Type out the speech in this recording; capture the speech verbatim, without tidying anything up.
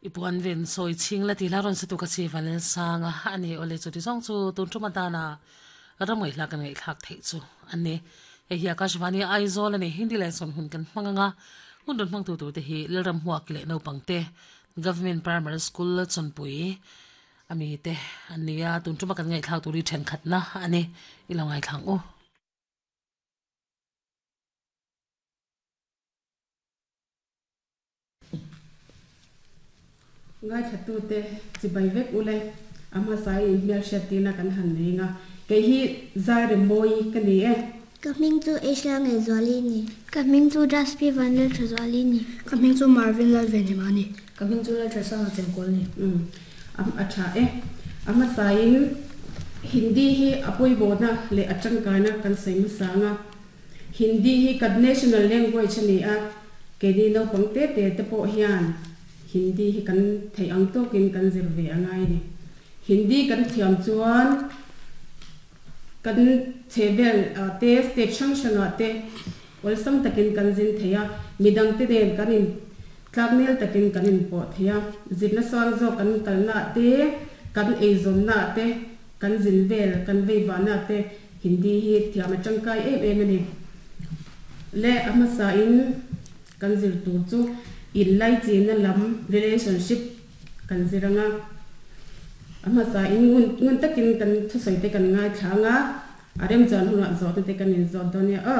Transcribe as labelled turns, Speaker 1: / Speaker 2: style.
Speaker 1: Ipuan ven sawi chhing la tih hla rawn sa tu ka chi Vanlal Sanga a ni. Awle chuti zawng chu tun tum atana ram ngaihla kan ngaihthlak theih chu a ni. Hei hi Akashvani Aizawl a ni. Hindi leh sawn hun kan hmang anga hun rawn hmang tu tur te hi Lalram Huak leh naupang te Government Primary School Chawnpui ami te an ni a. Tun tuma kan ngaihthlak tur hi thenkhatna a ni. I lo ngaithlang u.
Speaker 2: Ngai thatu te chibai vek ule ama sai in hmel hriat tina kan han nei nga kei hi zai re moi ka ni e.
Speaker 3: Ka hming chu Asia nge Zuali ni.
Speaker 4: Ka hming chu Jaspi Vanlal tha Zuali ni.
Speaker 5: Ka hming chu Marvin Lal Venhima ni.
Speaker 6: Ka hming chu Lal tha Sanga Chengkawl ni.
Speaker 2: Um am a tha e. Ama sai in Hindi hi apoi bona le atangkaina kan sei ma sanga. Hindi hi kan national language ani a ke ni no pang te te te po hian Hindi hi kan thei ang tokin kan zir ve angai ni. Hindi kan thiam chuan kan chevel te state sang sanga te olsam takin kan zin theia midang te den kan in tlaknel takin kan in po theia zirna sang zo kan kalna te kan eizon na te kan zin vel kan veiwa na te Hindi hi thiam atangkai em em ani. Le ama sa in kan zir tur chu in lai chi na lam relationship kan ziranga ama sa in ngun ngun takin kan thu soi te kan ngai thanga arem chan huna zo te kan in zo donia a.